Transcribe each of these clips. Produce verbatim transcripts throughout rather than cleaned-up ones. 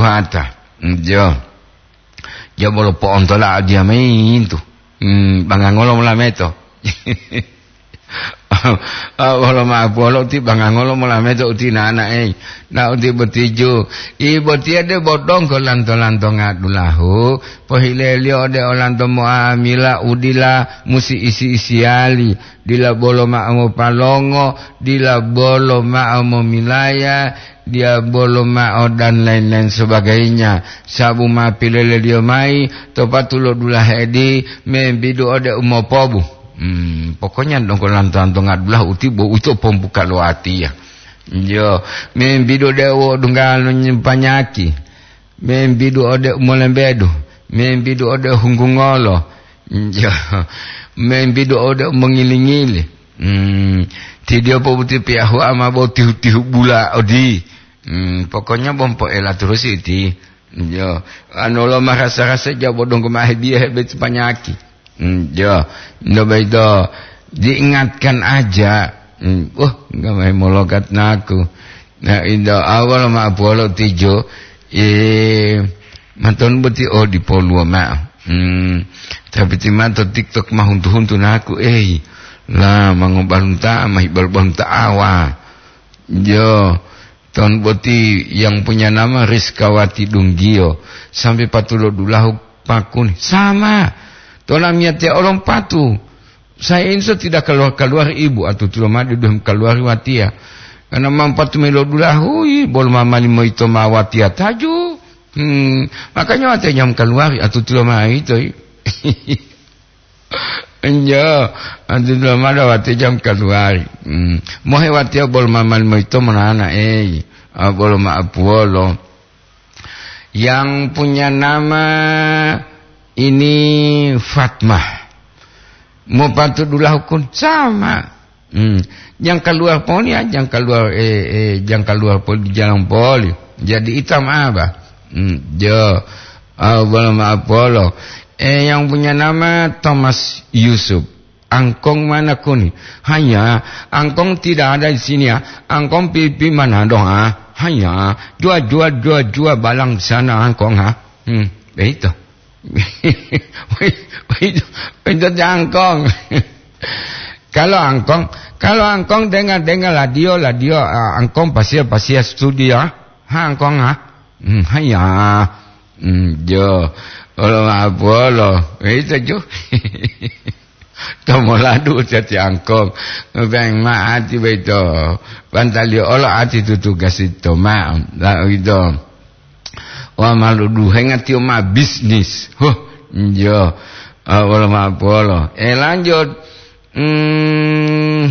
Hata. Hmm, jo. Ja bolo po'ontola adiya mayi yintu. Hmm, bangangolo molameto. Ah, wolo ma'o polo ti bangangolo molameto uti nana, ei. Na uti botiju. I botiya de bodonggo lanto-lanto ngadulahu. Pohileliyo ode olanto mo'amila udila musi isi-isiyali. Dila bolo ma'o mopalongo, dila bolo ma'o momilaya, dila bolo ma'o dan lain-lain sebagainya. Sabu ma pileleliyo mayi to patulo dulahe di membidu ode umopobu. Hmm, pokoknya donggo lanto-lanto ngadulahu uti bo uto pombuka lo atiya. Yo, membidu ode wo dunggalo nyempanyaki. Membidu ode umolembedu, membidu ode hunggungolo, jo, membidu ode umongili-ngili. Hmm, tidio pobuti piyahu ama bo tihu-tihu bula odi. Hmm, pokoknya bompo ela terus iti. Jo, anu lo marasa-rasa jabo donggo mahe biya hebe panyaki. Hmm, jo, ndo baito diingatkan aja. Hmm, wah, nggak main mologat naku. Nah, indo awal ma polo tijo, eh, maton boti o di poluo ma'o. Hmm, tapi ti mato TikTok ma huntu-huntu naku, eh, lah, mangobalunta, ma hibalbalunta awa. Jo, ton boti yang punya nama Rizkawati Dunggio, sampai patulo dulahu pakuni. Sama. Tona miyatia olom patu. Saya ini so tidak keluar-keluar ibu, atutulo made duhem keluar watiya. Karena mampatu melo dulahui, bol mamali moito ma watiya taju. Hmm, makanya watiya jam keluar, atutulo ma ito. Enjo, atutulo ma da watiya jam keluar. Hmm, mohe watiya bol mamali moito monana, eh, ah, bolo ma apuolo. Yang punya nama ini Fatmah. Mopatudulahu kun sama. Hmm. Yang keluar poli ya, yang keluar, eh, eh, yang keluar poli di jalan poli. Jadi hitam apa? Hmm, jo. Ah, bolo ma apolo. Eh, yang punya nama Thomas Yusuf. Angkong mana kuni? Hanya, angkong tidak ada di sini ya. Angkong pipi mana dong ah? Hanya, jua, jua, jua, jua balang di sana angkong ha. Hmm, begitu. Itu, itu, itu angkong. Kalau angkong, kalau angkong dengar-dengar radio, radio, ah, angkong pasia, pasia studio, ha, angkong, ha? Hmm, hanya. Hmm, jo. Olo ma polo. Itu, jo. Tomoladu cati angkong. Beng ma ati beto. Pantali olo ati tutu gasito ma. La, itu. Wa malu duhenga tiyo ma bisnis. Huh, jo. Ah, wolo ma polo. Eh, lanjut. Hmm,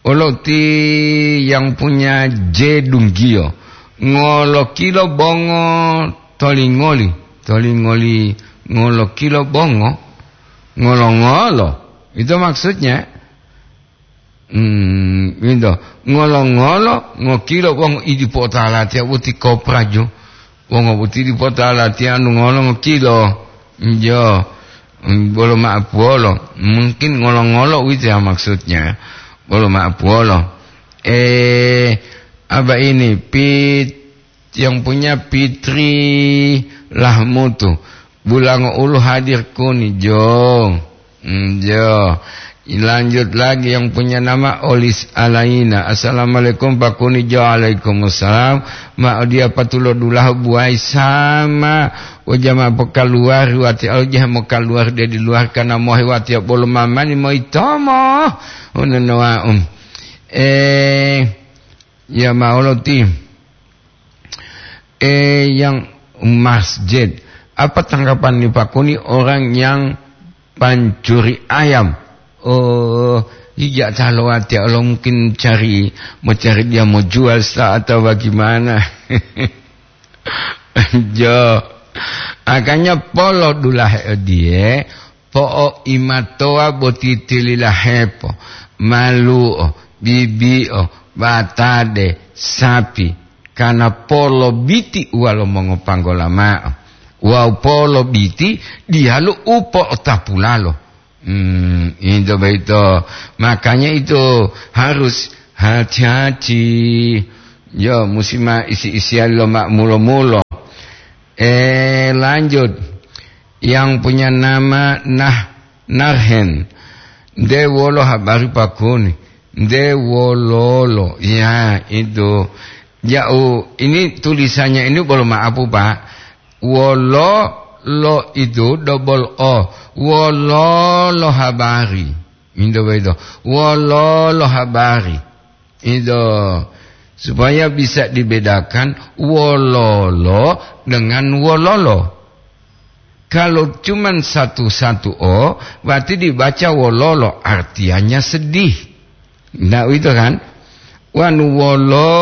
olo ti yang punya jedunggiyo. Ngolo kilo bongo tolingoli. Tolingoli ngolo kilo bongo. Ngolo-ngolo. Itu maksudnya. Hmm, winto. Ngolo-ngolo, ngokilo wong idi po'otalatiya boti kopraju. Wong boti idi po'otalatiya anu ngolo ngokilo. Jo. Hmm, bolo ma'apuwolo. Mungkin ngolo-ngolo uwito ya maksudnya. Bolo ma'apuwolo. Eh, apa ini? Pit yang punya Fitri Lahmutu. Bulango ulu hadir kuni, jo. Hmm, jo. Lanjut lagi yang punya nama Olis Alaina. Assalamualaikum, Pak Kuni, jo. Waalaikumsalam. Ma odia patulo dulahu buai sama. Ojama pokaluwari wati, ojama mokaluwari dari luar karena mohe wati bolo mamani moitomo. Unonoa, um. Eh, ya maolo ti. Eh, yang masjid. Apa tanggapan ni Pak Kuni orang yang pancuri ayam? Oh, ija talo ati Allah mungkin cari, mau cari dia mau jual sa atau bagaimana? Jo. Makanya polo dulahe odie, po'oimatowa boti tililahepo, malu'o, bibi'o, batade, sapi, kana polo biti uwalo mongopanggola ma'o. Wawu polo biti diyalu u po'otapulalo. Hmm, itu begitu. Makanya itu harus hati-hati. Yo, musi ma isi-isian lo ma mulo-mulo. Eh, lanjut. Yang punya nama Nah Narhen. Nde wolo habari pakuni? Nde wololo? Ya, itu. Jauh. Ini tulisannya ini bolo maapu, Pak. Wolo lo itu double O. Wololo habari. Itu begitu. Wololo habari. Itu. Supaya bisa dibedakan wololo dengan wololo. Kalau cuman satu-satu O, berarti dibaca wololo, artinya sedih. Nah, itu kan? Wanu wolo,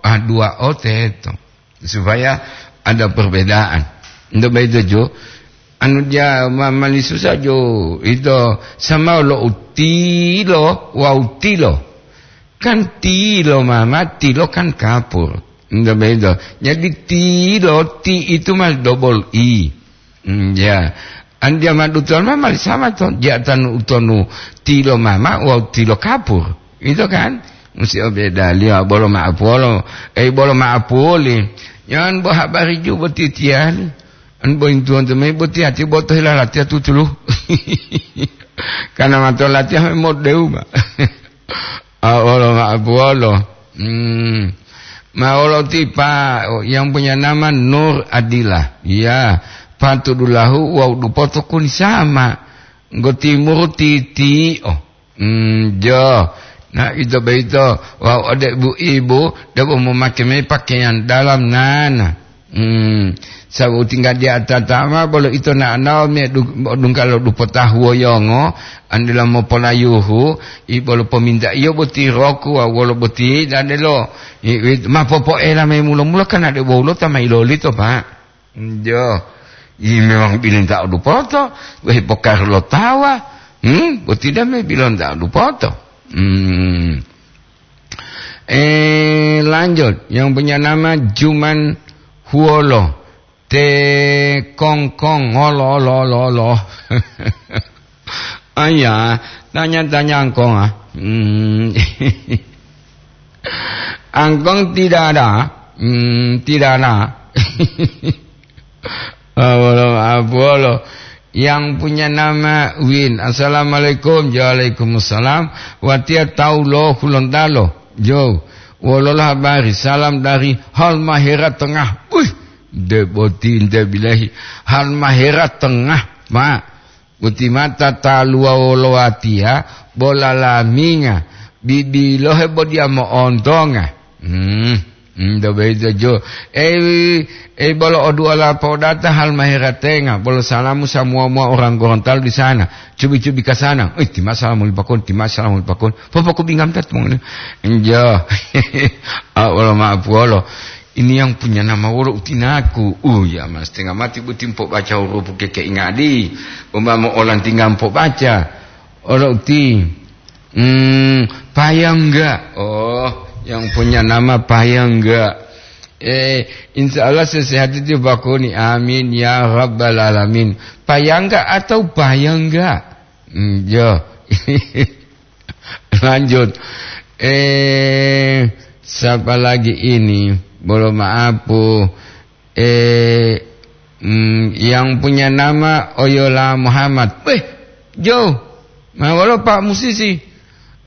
ah, dua O teto. Supaya ada perbedaan. Ndak begitu, Jo? Anu dia ma-, mani susah, Jo. Itu sama lo utilo, wa utilo. Kan tilo mama, tilo kan kapur. Ndak begitu. Jadi tilo, ti itu mas double I. Hmm, ya. Andia madutuan ma mali sama to, jatanu utonu tilo mama wawu tilo kapur. Itu kan? Musi obedaliyo bolo ma'apolo, eh, bolo ma'apuli. Yan bo habari ju boti tiyali. An bo intuwan to me boti ati bo to hilalatiya tutulu. Karena mato latiya me modeu ma. Ah, wolo ma'apuwolo. Hmm. Ma wolo tipa yang punya nama Nur Adila. Ya, patudulahu wawu dupoto kuni sama. Nggo timuru titi'o. Hmm, jo. Nah, ito boyito wawu ode bu ibu debo momake mayi pakeyang dalam nana. Hmm, sabu tingga di atata ma bolo ito na'anao me du-, dungga lo dupo tahuwo yongo, andila mopolayuhu, i bolo pomintaiyo boti roku wawu wolo boti dadelo, i, i, ma popoela mayi mulo-mulo kan ade wolulo ta ma ilolito, Pak. Njo, i memang bilinta'o dupoto, wehi pokaru lo tawa, hmm, boti dame bilinta'o dupoto. Hmm. Eh, lanjut. Yang punya nama Juman Huolo. Te kongkong, olo, olo, olo, olo. Aya, tanya-tanya angkong, ah. Hmm. Angkong tidak ada. Hmm, tidak ada. Ah, wolo, ah, wolo. Yang punya nama Win. Assalamualaikum. Waalaikumsalam. Watiya tawu lo Hulontalo. Jo. Wolola habari. Salam dari Halmahera Tengah. Wih, de boti nte bilahi. Halmahera Tengah, Pak. Boti mata taluwa wolo watiya, bola laminga. Bibilohe bo diya mo'ontonga. Hmm. Hmm, do beito jo. Eh, eh, bolo o du'a la podata Halmahera Tengah, bolo salamu samuwa-muwa orang Gorontalo di sana. Cubi-cubi ka sana. Eh, tima salamu lipakon, tima salamu lipakon. Popoku bingam tat mongoni. Injo. Ah, wolo ma'apuwolo. Ini yang punya nama wolo utinaku. Uh, ya, mas, tengah mati buti mpo baca huruf ke keingadi. Umpama olan tinggal mpo baca. Olo uti. Hmm, Payangga. Oh, yang punya nama Payangga. Eh, insya Allah sehat itu bakuni. Amin ya rabbal alamin. Payangga atau Payangga? Hmm, yo. Lanjut. Eh, siapa lagi ini? Bolo ma'apu. Eh, mm, yang punya nama Oyola Muhammad. Weh, Jo, ma wolo Pak Musisi?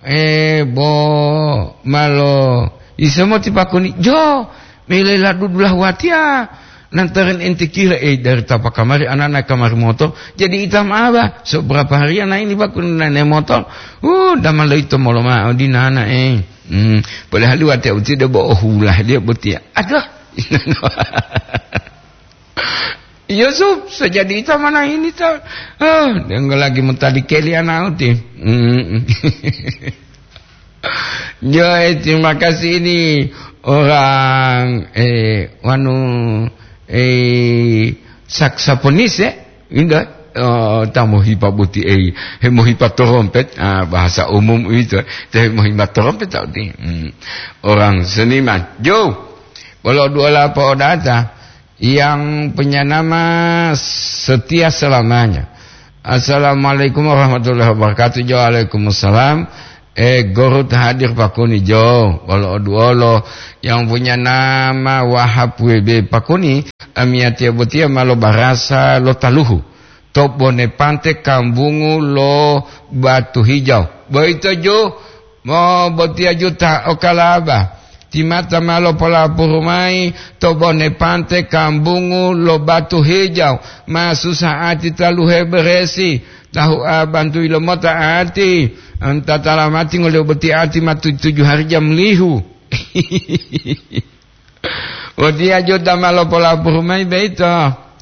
Eh, bo malo isemo tipakuni, Jo, mele la dudulah watiya. Lantaran ente kira, eh, dari tapa kamari anana kamari motor, jadi itam aba. So berapa hari ana ini bakuni nane motor? Uh, damalo ito molo ma'o di nana, eh. Hmm, padahal watiya uti de bo ohulah dia botiya. Aduh. Yusuf, sejadi ita mana ini ta? Ah, denggo lagi mutadi keli anak uti. Mm. Yo, eh, terima kasih ini orang, eh, wanu, eh, saksofonis, ya. Indah. Oh, tamu hipa buti, eh, hemo hipa trompet. Ah, bahasa umum itu. Teh hemo hipa trompet tau ti. Hmm. Orang seniman. Jo. Bolo dua lapo data. Yang punya nama setia selamanya. Assalamualaikum warahmatullahi wabarakatuh. Waalaikumsalam. Eh, Gorut hadir pakuni jo, wolo oduolo yang punya nama Wahab W B pakuni, amiyatiya botiya ma lo barasa lo taluhu. To bone pante kambungu lo Batu Hijau. Boyito ju, mo botiya ju ta okalaba. Timata ma lopolapuru mayi to bone pante kambungu lo Batu Hijau. Ma susah ati taluhe beresi. Tahu a bantu ilomota ati. Anta talamati ngolio boti ati ma tu-, tujuh hari jam lihu. Watiya jota ma lopolapuru mayi boyito.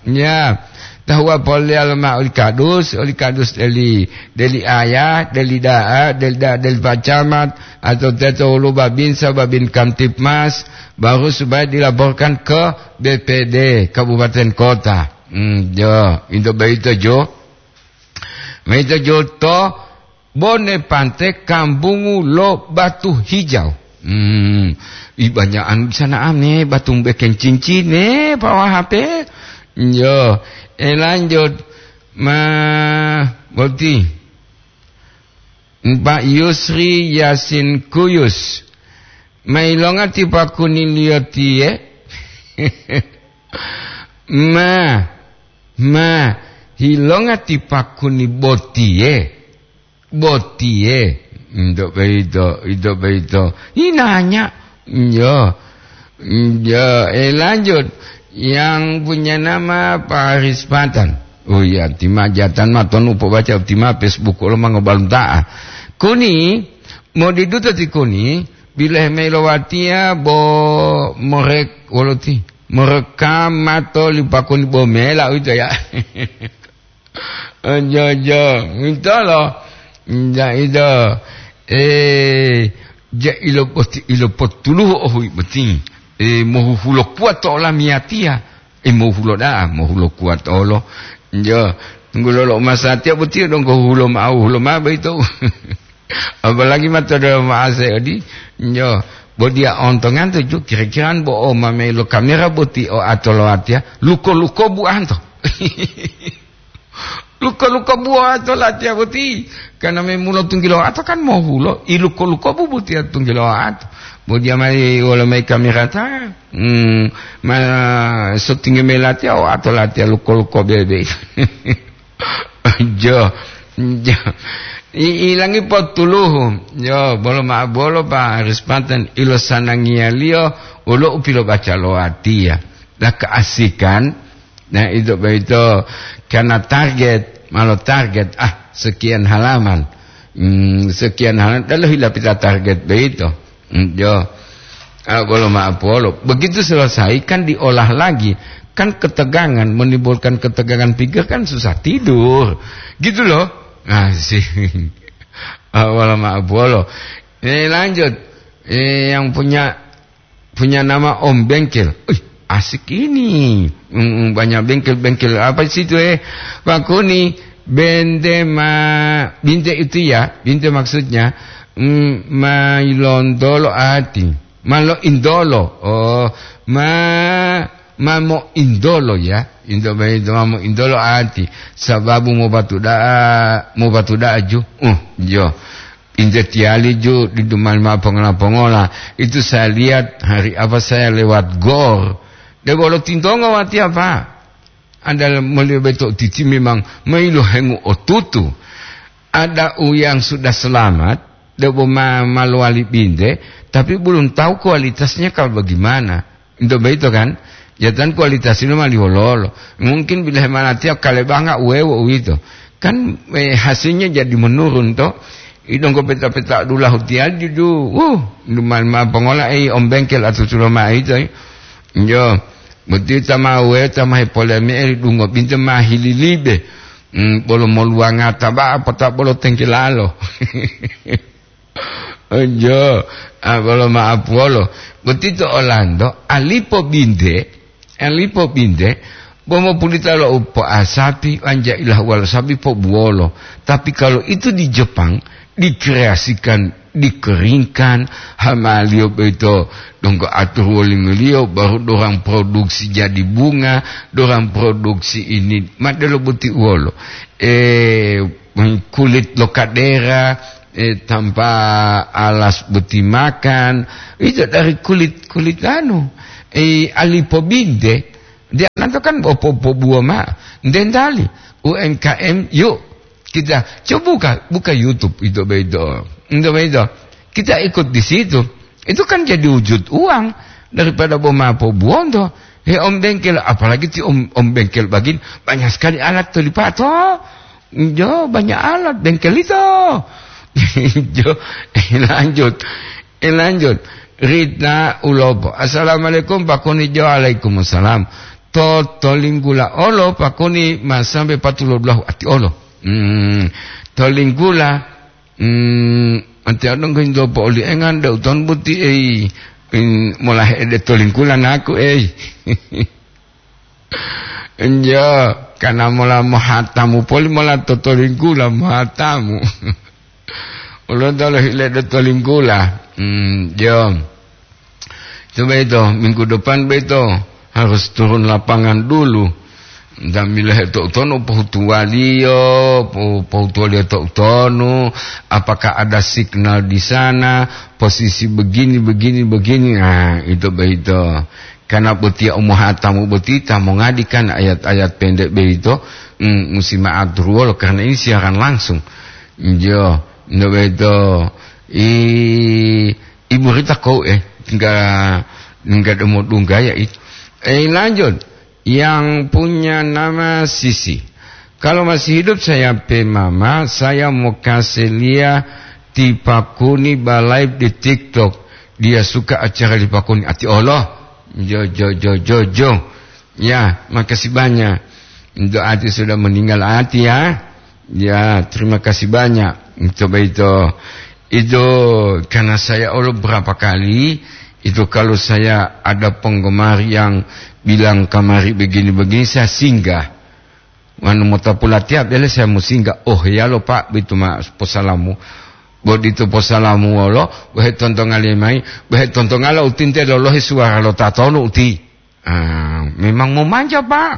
Ya, tahuwa polelalo mao oli kadus, oli kadus deli, deli ayah, deli da'a, deli da'a, deli pacamat, atau teto wolu babinsa, babin Kamtibmas, baru supaya dilaporkan ke B P D kabupaten kota. Hmm, jo, itu boyito jo. Boyito jo to bone pante kambungu lo Batu Hijau. Hmm, ibanya'an di sana ame batu bekeng cincine, Pak Wahab, eh. Yo, eh, lanjut. Ma, boti. Pak Yusri Yasin Kuyus. Mailonga ti pakuniliyo tiye. Ma, ma, hilonga ti pakuni botiye. Botiye. Ndo boyito, ndo boyito. Inanya. Yo. Yo, eh, lanjut. Yang punya nama Pak Haris Patan. Oh iya, tima jatan ma tonu pobaca tima Facebook lo mangobalunta'a. Kuni, modiduta ti kuni, bilehe mayi lo watiya bo morek wolo ti. Morekam mato li pakuni bo mela uwito ya. Ojo, ojo. Uwitolo. Nja ito. Eh, ja ilo boti, ilo potuluhu ohui boti. Eh, mohuhulo kuat to olamiyatiya. Eh, mohulo da'a, mohulo kuat olo. Njo, tunggulo lo masatiya boti donggo hulo ma'o, hulo ma'o boyito. Apalagi ma to delomo ase odi, njo, bo diya ontonganto ju, kira-kira bo o mamelo kamera boti o ato lo watiya, luko-luko buanto. Luko-luko buo ato latiya boti. Karena memulo tunggilo ato kan mohulo, iluko-luko bu botiya tunggilo ato. Bo diya mai wolo mai kamera ta, hmm, ma sotingi mai latiya o ato latiya luko-luko bebe. Jo, jo. I, ilangi potuluhu. Jo, bolo ma bolo pa Haris Patan ilo sanangiyaliyo ulo upilobaca lo watiya. La keasikan, nah, itu boyito karena target, malo target, ah, sekian halaman. Hmm, sekian halaman, lalu hila pita target boyito. Hmm, jo. Ah, bolo maaf, bolo. Begitu selesai, kan diolah lagi. Kan ketegangan, menimbulkan ketegangan pikir kan susah tidur. Gitu loh. Asik. Ah, bolo maaf, bolo. Eh, lanjut. Eh, yang punya punya nama Om Bengkel. Wih, asik ini. Mm, mm, banyak bengkel-bengkel. Apa sih itu, eh? Pak Kuni, bente ma-, binte itu ya, binte maksudnya, mm, ma ilondolo ati. Ma lo indolo. Oh, ma, ma mo indolo ya. Indo, ma mo indolo ati. Sababu mo batu da'a, mo batu da'a ju. Uh, jo. Injetiali ju didu mali mao pongola-pongola. Itu saya lihat hari apa saya lewat gor. Debo lo tintonga wati apa? Ada melihat beto titi memang mailohengu otutu. Ada u yang sudah selamat, debo ma-, malowali binte, tapi belum tahu kualitasnya kalau bagaimana. Ento boyito kan, jatan kualitasilo mali wololo. Mungkin bila hemalatiya kalebanga uwewo uwito. Kan, eh, hasilnya jadi menurun to. Idonggo peta-peta dulahu tiyali dudu. Wuh, lumali ma pongola, eh, om bengkel atutulo ma'o ito, eh. Yo, boti ta ma uwe, ta ma hepole me'e dungo binte ma hililibe. Hmm, bolo moluwanga taba'a pota bolo tengkelalo. Ojo, ah, bolo ma'apuwolo. Boti to Olando, alipo binte, alipo binte, bo mopulita lo upo'asapi, wanja ilahuwa lo sapi pobuwolo. Tapi kalau itu di Jepang, dikreasikan, dikeringkan, hamaliyo boyito donggo atur wolingoliyo, baru dorang produksi jadi bunga, dorang produksi ini, ma delo boti uwolo. Eh, kulit lo kadera, eh, tanpa alas boti makan, itu dari kulit, kulit anu, eh, alipobinte. Dia nanto kan popo-, pobuo ma, dendali, U M K M, yuk, kita coba buka, buka YouTube itu begitu. Itu begitu. Kita ikut di situ. Itu kan jadi wujud uang daripada boma pobuonto. He, om bengkel, apalagi ti om, om bengkel bagin, banyak sekali alat to lipato. Jo, banyak alat bengkel itu. Jo, lanjut. Eh, lanjut. Rita Ulopo. "Assalamualaikum, Pak Kuni." Jo, waalaikumsalam. To, to linggula olo, Pak Kuni, ma sampai patulo dulahu ati olo. Hmm, to linggula, hmm, ati olo nggo indo po oli engan, da uton buti, ei, in, mola hede to linggula naku, ei. Njo, kana mola mohatamu poli mola to, to linggula mohatamu. Ulo tolo hile do to linggula. Hmm, jo. Coba itu, minggu depan beto harus turun lapangan dulu. Dan bila itu utonu pohutuwaliyo, po-, pohutuwaliyo to utonu, apakah ada signal di sana, posisi begini, begini, begini. Nah, itu begitu. Karena botiya umohatamu boti ta mongadi kan ayat-ayat pendek begitu, mm, musi ma'aturuwolo karena ini siaran langsung. Njo, njo begitu. I, Ibu Rita kau, eh, tinggal, tinggal demo dunggaya itu. Eh, lanjut. Yang punya nama Sisi. Kalau masih hidup saya pe mama, saya mau kasih lia ti Pak Kuni ba live di TikTok. Dia suka acara di Pak Kuni. Ati Allah. Jo, jo, jo, jo, jo. Ya, makasih banyak. Untuk Ati sudah meninggal Ati ya. Ya, terima kasih banyak. Coba itu. Itu karena saya Allah berapa kali, itu kalau saya ada penggemar yang bilang kamari begini-begini, saya singgah. Wanu mota pulatiya bele saya musinggah. "Oh, ya lo, Pak, bitu ma posalamu." Bodito posalamu wolo, bohe tontongali mai, bohe tontongala utinte lolohe suara lo tatonu uti. Ah, memang mau manja, Pak.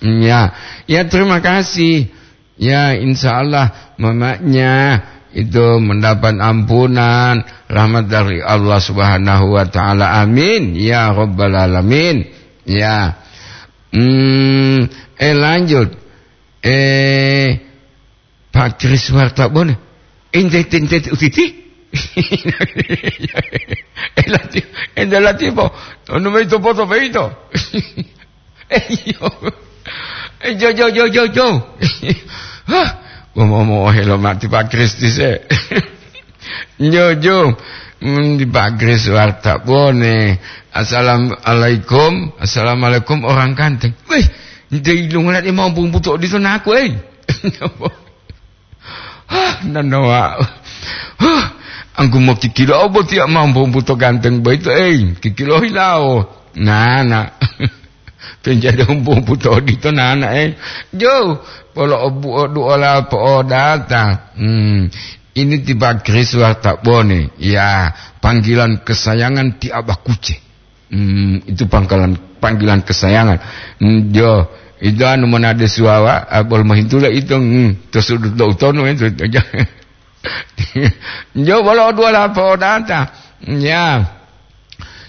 Ya, ya, terima kasih. Ya, insya Allah mamanya itu mendapat ampunan, rahmat dari Allah Subhanahu wa Ta'ala. Amin ya Rabbal Alamin. Ya. Hmm, eh, lanjut. Eh, Pak Kris Wartabone. Ente, ente, ente, utiti? Eh, lati, ente lati po. Onu mayi to poto beito. Eh, iyo. Eh, jo, jo, jo, jo, jo. Hah? Ngomong-ngomong, oh, helo mati Pak Kris dise. Jo, jo. Hmm, di Pak Kris Wartabone. Assalamualaikum. Assalamualaikum, orang ganteng. Wih, ente ilungan dia mau bumbu to di sana aku, eh. Hah, nanawa. Hah, angku mo kikilo boti ma bumbu to ganteng boyito, ei, kikilo hilawo. Nana. Penjade bumbu to odito nana, ei. Jo, polo obu odu ola po'odata. Hmm, ini ti Pak Kris Wartabone. Ya, panggilan kesayangan ti Abah Kuce. Hmm, itu pangkalan, panggilan kesayangan. Hmm, jo, itu anu monade suwawa, ah, bol mohintula itu, hmm, to sudut do utono itu. Jo, bolo dua lapo data. Ya.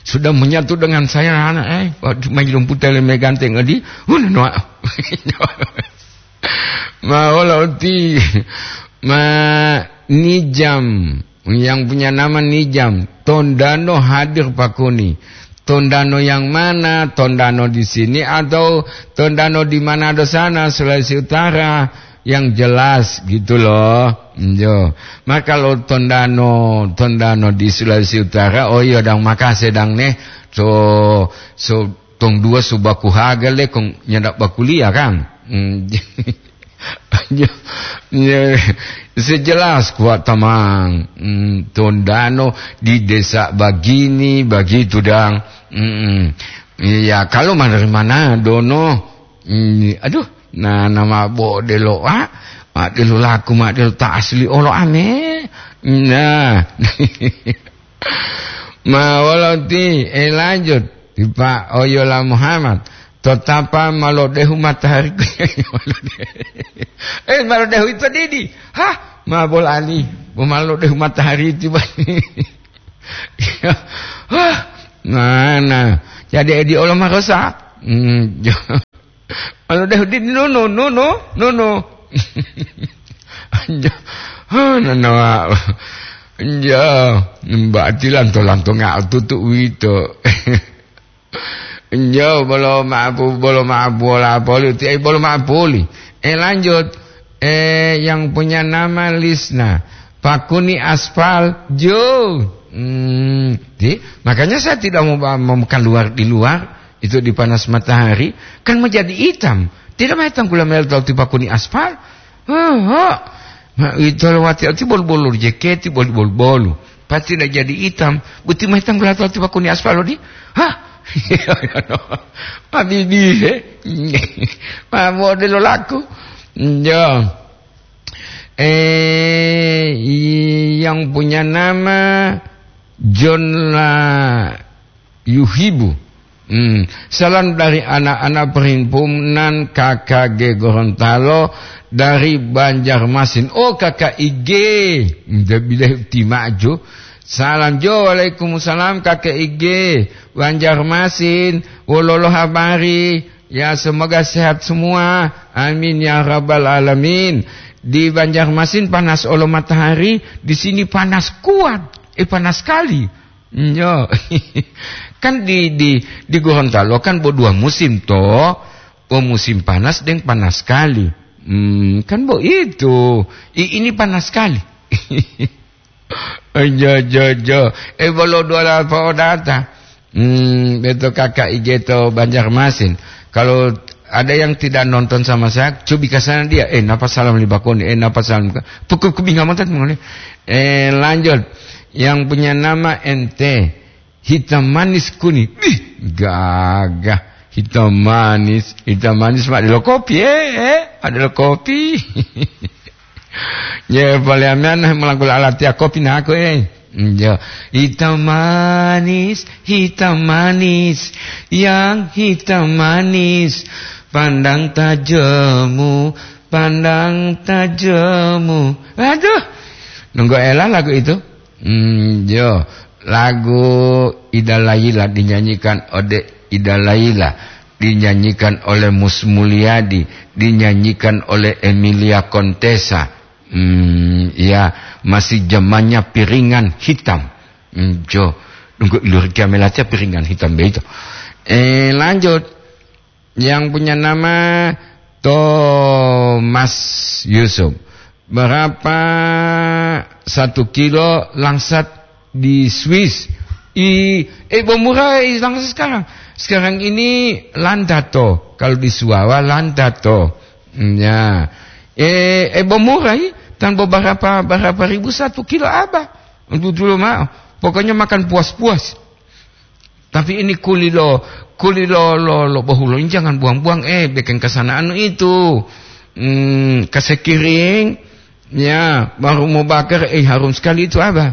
Sudah menyatu dengan saya, anak, eh. Waktu main rumput tele meganteng adi. Huh, no. Ma wolo uti, ma Nijam, yang punya nama Nijam, Tondano hadir Pak Kuni. Tondano yang mana? Tondano di sini atau Tondano di Manado sana, Sulawesi Utara? Yang jelas gitu loh. Yo. Maka kalau Tondano, Tondano di Sulawesi Utara, oh iya dang, makase dang neh. So, so tong dua subaku haga le kong nyanda bakuliah kan. Hmm. Ya, ya, sejelas kuat tamang. Hmm, Tondano di desa bagini, bagitu dang. Hmm. Ya, kalau mana, mana dono. Hmm, aduh, nah, nama bo delo, ah, ma delo laku, ma delo ta asli olo ame. Nah. Ma wolo ti, eh, lanjut. Ti Pak Oyola Muhammad. Totapa malodehu matahariku. Eh, malodehu itu didi. Hah? Ma bolali, bo malo dehu matahari tiba. Hah, mana? Jadi edi olo marosa. Hmm, jo. Malo dehu di nono, nono, nono. Jo. Hah, nono. Jo, mbak tilanto-lanto nggak tutu wito. Jo, bolo maapu, bolo maapu, bola poli, ti, eh, bolo maapuli. Eh, lanjut. Eh, yang punya nama Lisna. Pakuni aspal, jo. Hmm, ti, makanya saya tidak mau, mau keluar di luar, itu di panas matahari, kan menjadi hitam. Tidak mau hitam gula mel tau ti pakuni aspal. Oh, oh. Ma, ito lewati ati bol-bolu jeketi bol-bol-bolu. Pasti tidak jadi hitam. Buti mah hitam gula tau ti pakuni aspal di. Hah? Habibi, he? Ma modelo laku. Jo. Eh, yang punya nama John la Yuhibu. Hmm. Salam dari anak-anak perhimpunan K K G Gorontalo dari Banjarmasin. Oh, K K I G. Nda bilahi utimaju. Salam jo, waalaikumsalam K K I G. Banjarmasin, wololo habari? Ya, semoga sehat semua. Amin ya rabbal alamin. Di Banjarmasin panas olo matahari, di sini panas kuat. Eh, panas sekali. Yo. Kan di, di, di Gorontalo kan bo dua musim to. Bo musim panas deng panas sekali. Hmm, kan bo itu. I, ini panas sekali. Jo, jo, jo. Eh, bolo dua lapa odata. Hmm, beto K K I G to Banjarmasin. Kalau ada yang tidak nonton sama saya, cobi ke sana dia. Eh, napa salam libakoni? Eh, napa salam? Pukul kubinga mata ngone. Eh, lanjut. Yang punya nama ente. Hitam manis kuni. Bih, gagah. Hitam manis, hitam manis, Pak. Ada lo kopi, eh, eh. Ada lo kopi. Ye, paliamean melangkul alatiya kopi nako, eh. Jo. Hitam manis, hitam manis, yang hitam manis, pandang tajamu, pandang tajamu. Aduh, nunggu ela lagu itu. Hmm, jo. Lagu Ida Laila dinyanyikan ode Ida Laila, dinyanyikan oleh Mus Mulyadi, dinyanyikan oleh Emilia Contessa. Hmm, ya, masih zamannya piringan hitam. Hmm, jo, nunggu ilur kiamelatia piringan hitam begitu. Eh, lanjut. Yang punya nama Thomas Yusuf. Berapa satu kilo langsat di Swiss? I, eh, bo murah, eh, langsat sekarang. Sekarang ini landato. Kalau di Suwawa, landato. Hmm, ya. Eh, eh, bo murah, i? Tan beberapa, berapa ribu satu kilo apa? Untuk dulu mah. Pokoknya makan puas-puas. Tapi ini kuli lo, kuli lo, lo, lo bohulo ini jangan buang-buang, eh, bikin kesanaan itu. Hmm, kasekiring, ya, baru mau bakar, eh, harum sekali itu apa?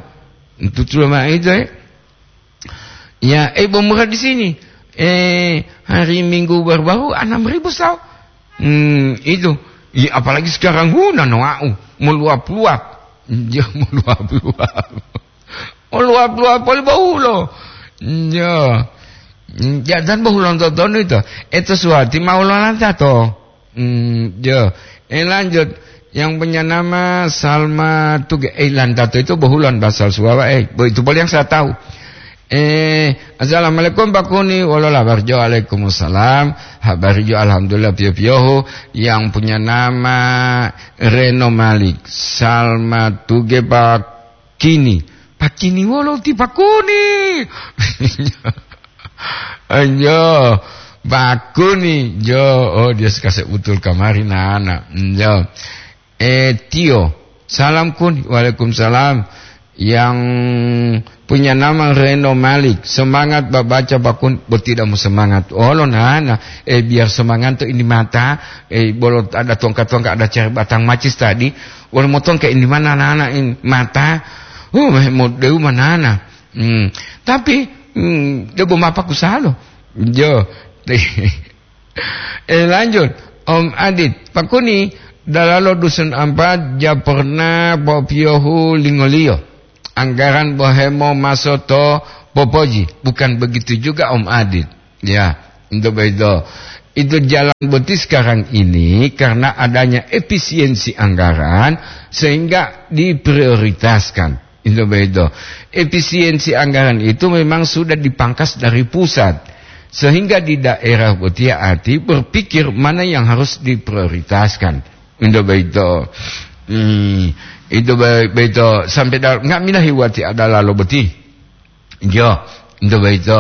Itu tuh mah itu, eh. Ya, eh, bo murah di sini. Eh, hari Minggu baru-baru enam ribu sao. Hmm, itu. Ya, apalagi sekarang huna noau, meluap-luap. Ya, meluap-luap. Oh, luwap-luwap poli bohulo. Yo. Ya, dan bohulo totonu itu. Itu suwati mau lolanta to. Hmm, yo. Eh, lanjut. Yang punya nama Salma Tuge. Eh, lantato itu bohulan bahasa Suwawa. Eh, bo-, itu poli yang saya tahu. Eh, assalamualaikum Pak Kuni. Walola barjo. Waalaikumsalam. Habari jo alhamdulillah pio-piohu. Yang punya nama Reno Malik. Salma Tuge Pak Kini. Pakini wolo ti pakuni. Anjo, pakuni. Jo, oh, dia sekasih utul kamari nana. Jo. Eh, Tio. Salam Kuni. Waalaikumsalam. Yang punya nama Reno Malik. Semangat babaca Pak Kuni. Bo tidak mau semangat. Oh, lo nana. Eh, biar semangat tuh ini mata. Eh, bolo ada tongkat-tongkat, ada cari batang macis tadi. Wolo motongke ini mana nana in mata. Oh, mo deu manana. Hmm. Tapi, hmm, debo mapa kusalo. Jo. Eh, lanjut. Om Adit, Pak Kuni, Dalalo dusun ampat ja pernah popiyohu lingoliyo anggaran bohemo maso to popoji. Bukan begitu juga, Om Adit. Ya, itu begitu. Itu jalan boti sekarang ini karena adanya efisiensi anggaran sehingga diprioritaskan. Itu begitu. Efisiensi anggaran itu memang sudah dipangkas dari pusat. Sehingga di daerah boti ati berpikir mana yang harus diprioritaskan. Itu begitu. Hmm, itu be-, begitu. Sampai da-, nggak mina hiwati ada lalo boti. Jo, itu begitu.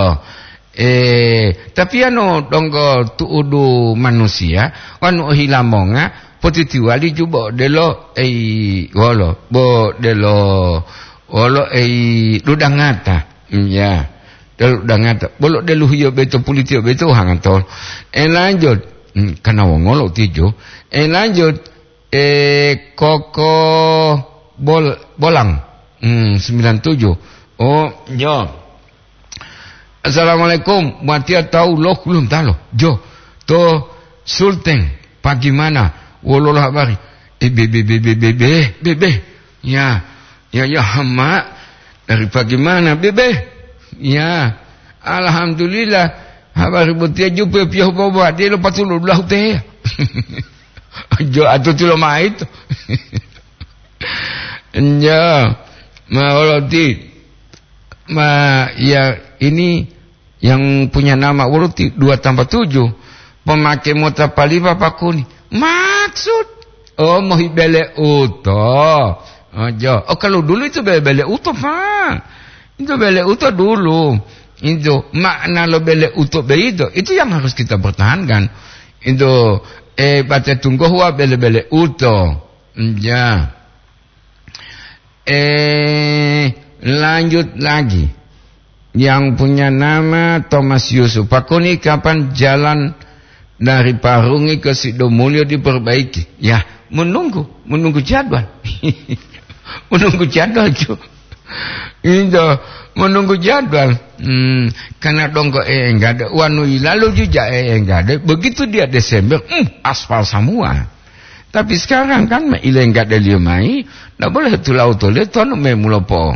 Eh, tapi anu donggo tu'udu manusia, wanu ohila monga, potitiwali ju bo delo, ei, wolo, bo delo, wolo, ei, dudangata. Hmm, ya. Delo dudangata. Bolo delu hiyo beto pulitiyo beto hangatol. Eh, lanjut. Hmm, kana wongolo tijo. Eh, lanjut. Eh, Koko Bol-, Bolang. Hmm, sembilan tujuh. Oh, jo. Assalamualaikum. Matia tahu lo kulun talo. Jo. To Sulteng. Bagaimana? Wololah habari. Eh, be, be, be, be, be, be, be, be. Ya. Ya, ya, hama. Dari bagaimana, be, be? Ya. Alhamdulillah. Habari botiya jupe piyohu bobo. Dia lo patulu dulahu teh. Jo, atuti lo maitu. Njo. Ma, wolo ti. Ma, ya, ini yang punya nama wolo ti, dua tambah tujuh. Pemake mota palipa pakuni. Maksud? Oh, mohi bele uto. Oh, jo. Oh, kalau dulu itu bele-bele uto, Pak. Itu bele uto dulu. Itu makna lo bele uto beito. Itu yang harus kita pertahankan. Itu, eh, baca tunggu huwa bele-bele uto. Ya. Eh, lanjut lagi. Yang punya nama Thomas Yusuf. Pakuni kapan jalan dari Parungi ke Sidomulyo diperbaiki? Ya, menunggu, menunggu jadwal. Menunggu jadwal, cu. Itu, menunggu jadwal. Hmm, karena donggo enggak ada, wanu ilalu juga enggak ada. Begitu dia Desember, hmm, aspal semua. Tapi sekarang kan ma ilenggadeliyo mayi, ndak boleh tulau tole tonu memulo po,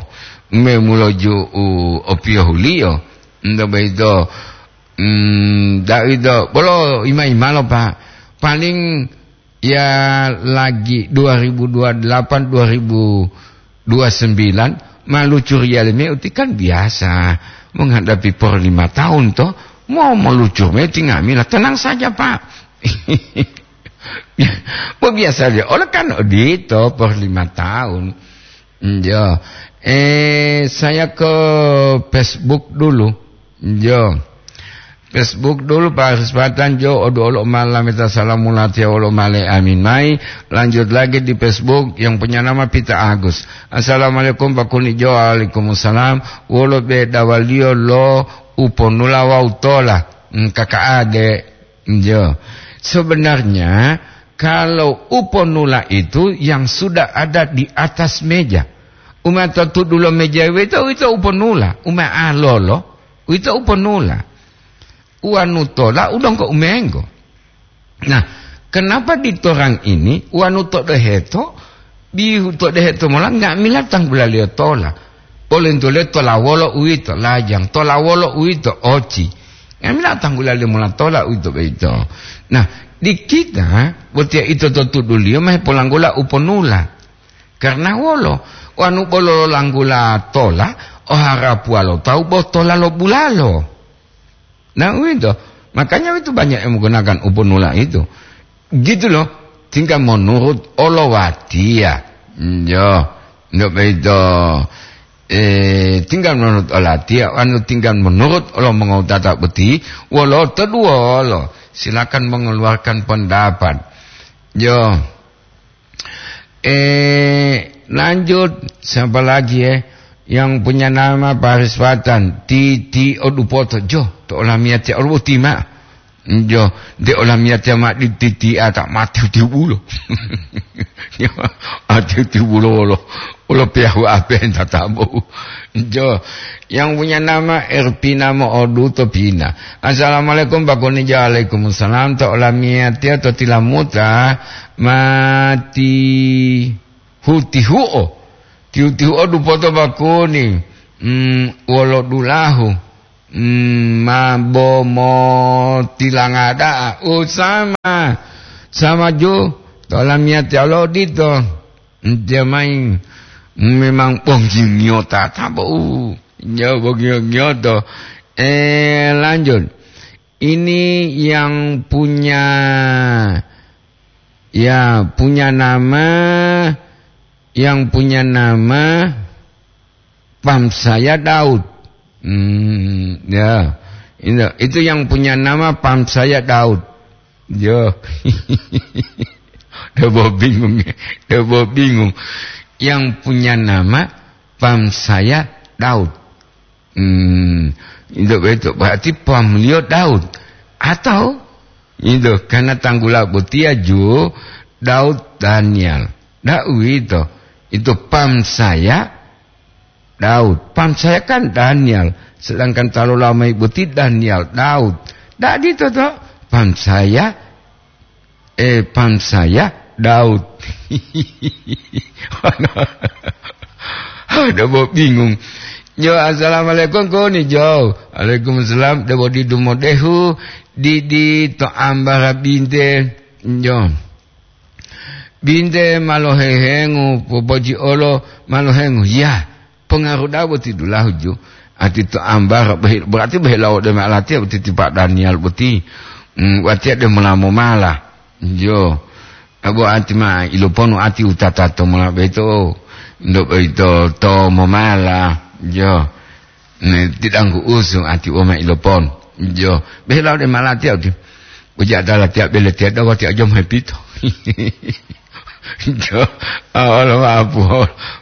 memulo ju u opiyohuliyo. Ndak begitu. Hmm, ndak itu. Bolo ima-imalo, Pak. Paling ya lagi dua ribu dua delapan, dua ribu dua sembilan, malucur yale me uti kan biasa. Menghadapi por lima tahun toh, mau melucur me tinggal mila. Tenang saja, Pak. Bo biasa dia. Oleh kan odito per lima tahun. Njo. Eh, saya ke Facebook dulu. Njo. Facebook dulu, Pak Haris Patan, jo, odu olo malameta salamu latiya olo male amin mai. Lanjut lagi di Facebook yang punya nama Pita Agus. Assalamualaikum, Pak Kuni, jo, waalaikumsalam. Wolo bedawaliyo lo uponula wawu tola? Hmm, kakak ade. Njo. Sebenarnya, kalau uponula itu yang sudah ada di atas meja. Uma to tudulo meja wito, wito uponula. Uma alolo, wito uponula. Uanu tola udongko umenggo. Nah, kenapa ditorang ini, uanu to deheto, bihu to deheto mola, nggak mila tanggulaliyo tola. Polentule tola wolo uwito, lajang, tola wolo uwito, oci. Ngamila tanggulaliyo mola tola uwito boyito. Nah, di kita, botiya ito to tuduliyo ma hepolanggola uponula. Karena wolo, wanu bolo langgula tola, oharapuwa lo tawu bo tola lo bulalo. Nah, uwito. Makanya itu banyak yang menggunakan uponula itu. Gitu loh. Tinggal menurut olowatiya. Yo, ndak begitu. Eh, tinggal menurut olatiya, anu tinggal menurut olo mengotata beti, wolo to duwolo. Silakan mengeluarkan pendapat. Yo. Eh, lanjut, siapa lagi, eh? Yang punya nama Paris Patan, Titi Odupoto, jo, to olamiyatiya oluwo tima. Jo, de olamiyatiya ma di Titi ata mati tibulo. Yo, ati tibulo wolo. Ulo piyahu ape tatabu. Jo, yang punya nama Erpina Mo'odu to Pina. Assalamualaikum, Pak Kuni. Waalaikumsalam. To olamiyatiya to tilamuta mati hutihu'o. Tihu-tihu'o dupoto Pak Kuni. Hmm, wolo dulahu. Hmm, ma bo mo tilanga da'a. Oh, sama. Sama jo. To olamiyatiya lo dito. Ntiya mayi memang bonggi ngiyota tabo. Ya, bonggi ngiyoto. Eh, lanjut. Ini yang punya, ya, punya nama, yang punya nama Pam saya Daud. Hmm, ya. Itu, itu yang punya nama Pam saya Daud. Yo. Debo bingung, debo bingung. Yang punya nama Pam saya Daud. Hmm, itu, itu berarti pamliyo Daud. Atau itu karena tanggula botiya ju Daud Daniel. Daud itu, itu Pam saya Daud. Pam saya kan Daniel, sedangkan ta lolama ibuti Daniel Daud. Dadi toto, pam saya, eh, pam saya Daud. Ada bo bingung. Jo, assalamualaikum, koni, Jo. Waalaikumsalam. Debo didu modehu, didi to ambara binte. Jo. Binte ma lohehengu, popoji olo ma lohengu. Ya, pengaruh da'a boti dulahu ju. Ati to ambara, behi-, berarti behilawo de ma latiya boti tipa Daniel boti. Hmm, watiya de mula momala. Jo. Abo ati ma iloponu ati utata to mula beto. Ndo beto to momala. Jo. Ne, tidanggu usu ati woma ilopon. Jo, behilau de malatiya uti. Uja ada latiya bele tiya dawa tiya jom hepito. Jo, ah, olo maapu,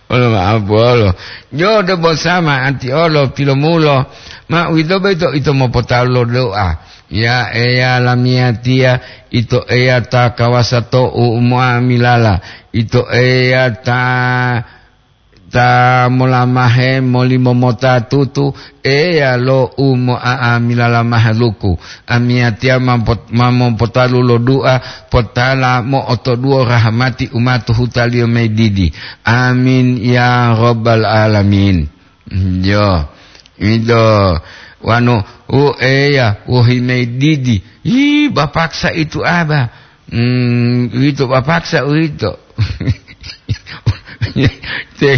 olo maapu, olo. Jo, de bosama ati olo pilomulo. Ma uwito boyito ito mopotalo doa. Ya Eya lamiyatiya, ito Eya ta kawasa to u muamilala. Ito Eya ta ta molamahe molimomota tutu, Eya lo u mo'a'amilala mahaluku. Amiyatiya ma pot-, ma mopotalu lo du'a, potala mo'otoduwo rahamati u ma to hutaliyo mayi didi. Amin ya rabbal alamin. Yo, ido wanu, u Eya, wohi mayi didi. Ih, bapaksa itu aba. Hmm, uwito papaksa uwito. Te,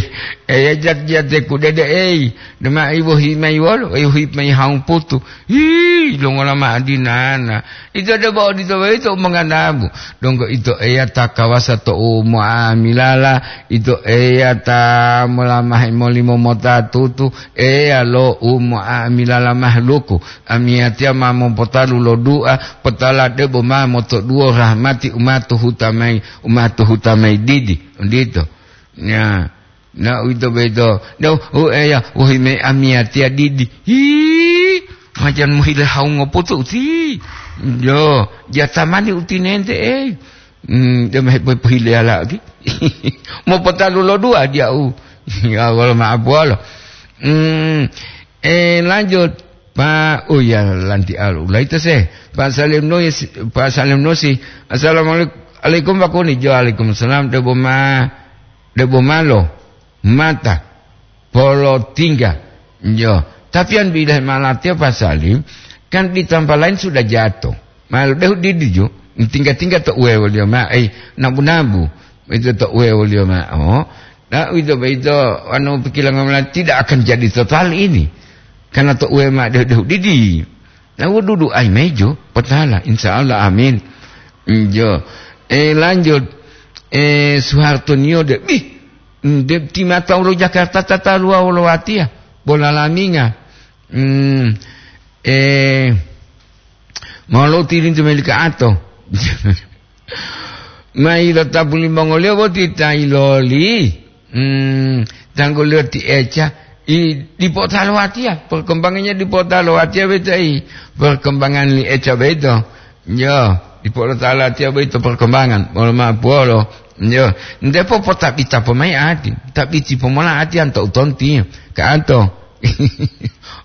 eya jat-, jate kudede ei, dema ibo himai wolo, ibo himai haung putu. Hi, longola ma adinana. Ito debo odito boyito umanganamu. Donggo ito Eya ta kawasa to u muamilala, ito Eya ta molamahe molimo mota tutu, Eya lo u muamilala mahluku. Amiyatiya ma mopotalu lo du'a, potala debo ma motoduwo rahmati u ma to huta mayi, u ma to huta mayi didi, odito. Ya, na uwito boyito, do, u Eya, wohi mayi amiyatiya didi. Hi, majan mohile hawungo putu uti. Yo, jatamani utinente, eh. Hmm, dema hepohipohileyala uti. Mopotalu lo du'a diyau. Ya, wolo ma'apuwolo. Hmm, eh, lanjut. Pa, oh ya, lanti alu. Laita se. Pak Salim Nusi, Pak Salim Nusi. Assalamualaikum, Pak Kuni. Jo, waalaikumsalam. Debo ma, debo malo. Mata. Polotingga. Jo. Tapi yang bidah malatiya Pak Salim, kan di tempat lain sudah jatuh. Malo dehu didi jo. Tingga-tingga to uwe woliyo ma, eh, nabu-nabu. Itu to uwe woliyo ma. Oh. Nah, itu, itu, anu, pikiran ngomong tidak akan jadi total ini. Karena to uwe ma dehu-dehu didi. Nah, wududu ai mejo, potala, insya Allah, amin. Njo. Eh, lanjut. Eh, Soeharto Nio de, bih, de timata ulo Jakarta tata luwa wolo watiya. Bola laminga. Hmm, eh, mau lo tilintu melika ato. Mai lo tapu limongoliyo boti ta iloli. Hmm, tangguliyo ti Eca, i, dipo talo watiya, perkembangannya dipo talo watiya beto, i, perkembangan li Eca beto. Yo, dipo talo watiya beto perkembangan, molo ma puwolo. Yo, nte popotabita pomai ati, tabiti pomola ati anto utonti, ka anto.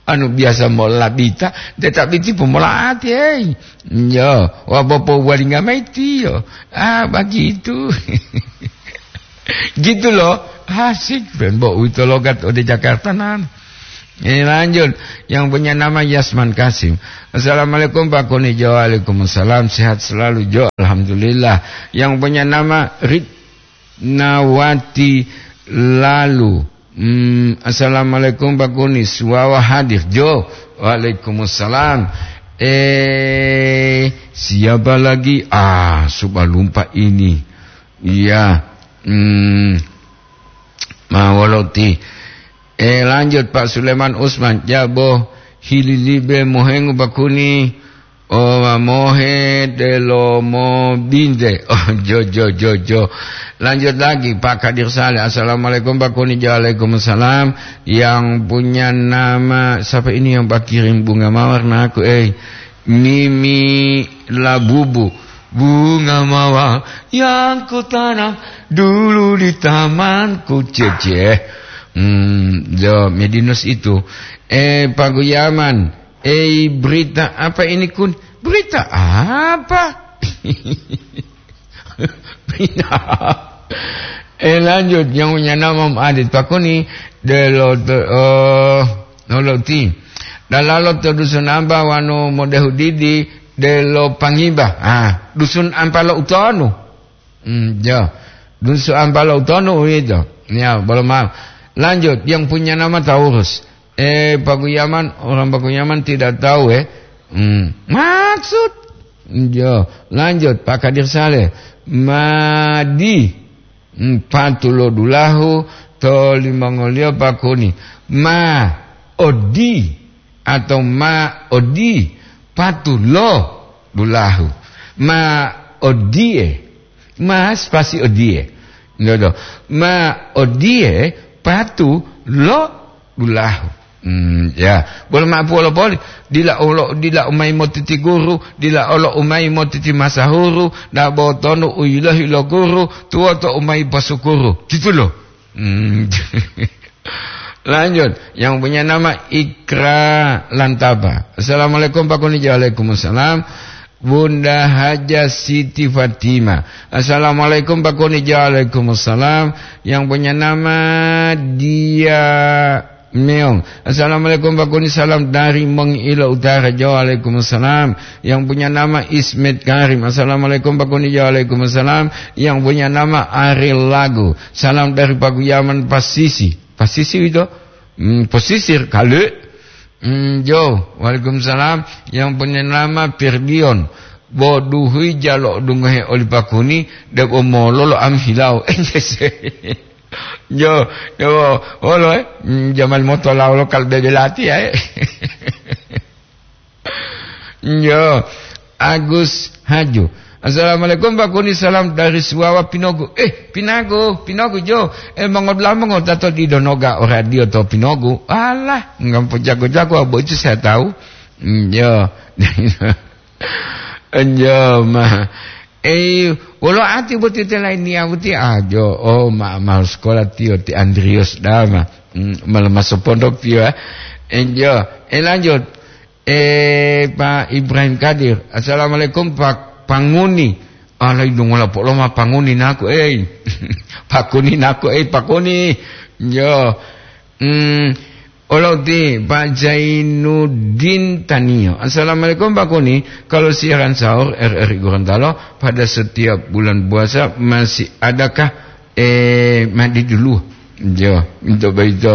Anu biasa mola bita, nte tabiti pomola ati, hei. Yo, wa bopo walinga mai tiyo. Ah, begitu. Gitu loh, asik, ben bo uwito logat ode Jakarta nan. Ini lanjut, yang punya nama Yasman Kasim. "Assalamualaikum Pak Kuni Jo." "Waalaikumsalam, sehat selalu Jo." "Alhamdulillah." Yang punya nama Ritnawati Lalu. Hmm, "Assalamualaikum Pak Kuni, Suwawa hadir Jo." "Waalaikumsalam." Eh, siapa lagi? Ah, subalumpa ini. Iya. Hmm, ma woloti. Eh, lanjut, Pak Suleman Usman, jabo hililibe mohengu Pak Kuni, o mohe delomo binte. Oh, jo, jo, jo, jo. Lanjut lagi, Pak Kadir Saleh. "Assalamualaikum, Pak Kuni." "Waalaikumsalam." Yang punya nama, siapa ini yang Pak kirim bunga mawar na aku, eh? Mimi Labubu. "Bunga mawar yang kutanam dulu di tamanku." Cece. Hmm, jo, Medinus itu. Eh, Pak Guyaman. Eh, berita apa ini, Kun? Berita apa? Berita apa? Eh, lanjut, yang punya nama Om Adit Pak Kuni, delo, oh, noloti. Dalalo to dusun ampa wanu modehu didi, delo pangiba. Ah, dusun ampa lo utonu. Hmm, ya. Dusun ampa lo utonu uwito. Ya, belum maaf. Lanjut, yang punya nama Taurus. Eh, Pak Guyaman, orang Pak Guyaman tidak tahu, eh. Hmm. Maksud? Ya, lanjut, Pak Kadir Saleh. Madi. Hmm, patulo dulahu, to limongoliyo Pak Kuni. Ma odi, atau ma odi, patulo dulahu. Ma odie. Ma spasi odie. Ngodo. Ma odie patu lo dulahu. Hmm, ya. Bolo mapu wolo poli. Dila olo, dila umai motiti guru, dila olo umai motiti masahuru, dabo tonu uyilohi lo guru, tuwoto umai pasukuru. Gitu loh. Hmm. Lanjut, yang punya nama Ikra Lantapa. "Assalamualaikum Pak Kuni." "Waalaikumsalam." Bunda Haja Siti Fatima. "Assalamualaikum Pak Kuni." "Waalaikumsalam." Yang punya nama Dia Meong. "Assalamualaikum Pak Kuni, salam dari Mongilo Utara." "Waalaikumsalam." Yang punya nama Ismet Karim. "Assalamualaikum Pak Kuni." "Waalaikumsalam." Yang punya nama Ariel Lagu. "Salam dari Paguyaman Pasisi." Pasisi itu? Hmm, posisir kali. Hmm, jo, waalaikumsalam. Yang punya nama Firdion. Boduhui jalo dungohe oli Pak Kuni, debo mololo am hilau. Jo, jo, olo, eh. Hmm, jamal moto laulo kal bebelati, eh. Yo, Agus Haju. "Assalamualaikum Pak Kuni, salam dari Suwawa Pinogu." Eh, Pinagu, Pinogu jo. Eh, mongodulamu ngotato di Donoga o radio to Pinogu. Alah, nggak jago-jago, abo itu saya tahu. Hmm, yo. Enjo ma. Eh, wolo ati boti te lain niya boti ajo. Oh, ma, ma sekolah tiyo ti Andrius dama. Hmm, malah masuk pondok tiyo, eh. Enjo. Eh, lanjut. Eh, Pak Ibrahim Kadir. "Assalamualaikum, Pak Panguni." Alai dungola poloma Panguni naku, eh. Pakuni naku, eh, Pakuni. Yo. Hmm, oloti Pak Zainuddin Tanio. "Assalamualaikum, Pak Kuni. Kalau siaran sahur R R I Gorontalo pada setiap bulan puasa masih adakah, eh, mandi dulu?" Jo, itu begitu.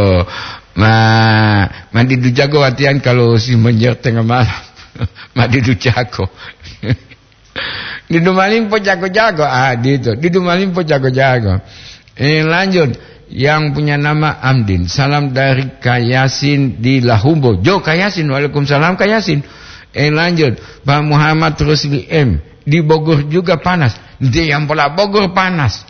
Ma, mandi dujago latihan kalau si menjer tengah malam. Mandi dujago. Didu malimpo jago-jago. Ah, gitu. Didu malimpo jago-jago. Eh, lanjut. Yang punya nama Amdin. "Salam dari Kayasin di Lahumbo." Jo, Kayasin. "Waalaikumsalam, Kayasin." Eh, lanjut. Pak Muhammad Rusli M. "Di Bogor juga panas." Dia yang pola Bogor panas.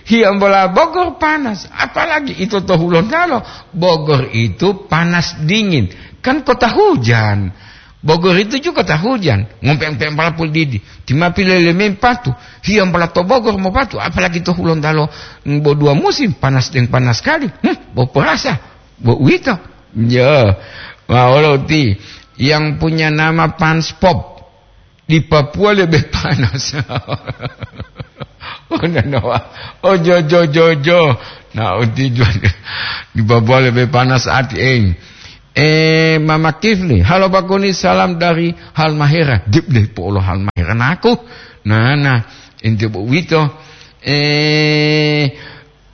Hiyambola Bogor panas, apalagi ito to Hulontalo. Bogor itu panas dingin, kan kota hujan. Bogor itu juga kota hujan, ngompeng-peng pala pul didi. Tima pile lemeng patu, hiam pala to Bogor mo patu, apalagi to Hulontalo, mm, bo dua musim, panas deng panas sekali. Hmm, bo perasa, bo uwito. Ya, ma olo uti, yang punya nama Pans Pop di Papua lebih panas. Oh, nanawa. Oh, jo, jo, jo, jo. Nah, uti jual. Di Papua lebih panas ati, eh. Eh, Mama Kifli, halo Pakuni, salam dari Halmahera. Dip deh, polo Halmahera naku. Nah, nah, ente bo wito. Eh,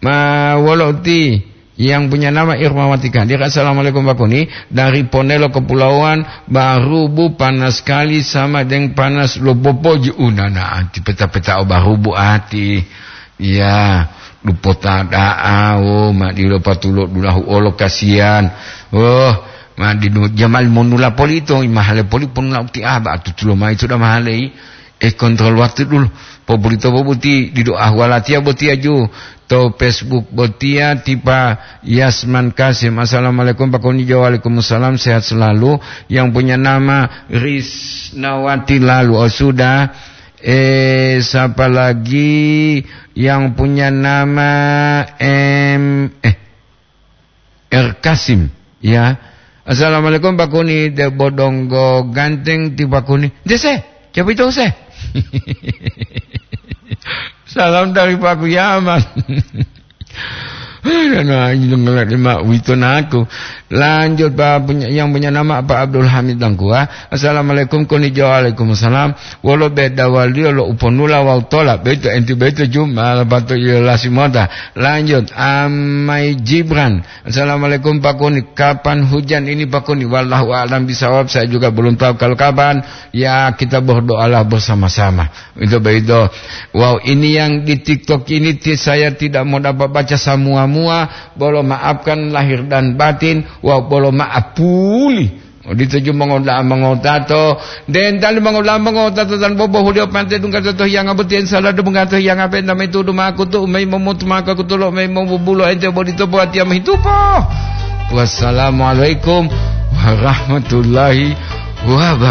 ma wolo uti yang punya nama Irmawati Kadir. Assalamualaikum Pakuni. Dari Ponelo Kepulauan Barubu, panas sekali sama dengan panas lo boboji. Unana anti peta-peta o Barubu ati. Iya, lupota da'a, oh, ma dilo patulo dulahu olo kasihan. Oh, ma dinu jamal monula polito, mahale poli ponula uti aba atutulo mai sudah mahale i. Eh, kontrol waktu dulu. Popolito bobuti dido ahwalatiya botiya ju. To Facebook botiya tipa Yasman Kasim. Assalamualaikum Pakuni Jo. Waalaikumsalam, sehat selalu. Yang punya nama Risnawati lalu. Oh, sudah. Eh, siapa lagi yang punya nama M, eh, R Kasim, ya. Assalamualaikum Pakuni, de bodonggo ganteng ti Pakuni. Dese, coba itu se. Salam dari Paku Yaman. Aduh, nah, ini dengar lima wito naku. Lanjut, Pak, punya, yang punya nama Pak Abdul Hamid Langkua. Assalamualaikum, konijo. Waalaikumsalam. Wolo beda waliyo lo uponula wawu tola. Beto enti beto jumala pato iyo lasimota. Lanjut, Amai Jibran. Assalamualaikum, Pakuni. Kapan hujan ini, Pakuni? Wallahu a'lam bisawab. Saya juga belum tahu kalau kapan. Ya, kita berdoalah bersama-sama. Itu begitu. Wow, ini yang di TikTok ini ti-, saya tidak mau dapat baca semua-mua. Bolo maafkan lahir dan batin. Wow, bolo maaf puli. Odito ju mongoda'a mongotato. Dentali mongoda'a mongotato tan bobohuliyo pante dungga to hiyanga boti ensala debunga to hiyanga penta maitudu makutu, umai momutu maka kutulo, umai mobubulo ente bodito buatiya mohitupo. Wassalamualaikum warahmatullahi wabarakatuh.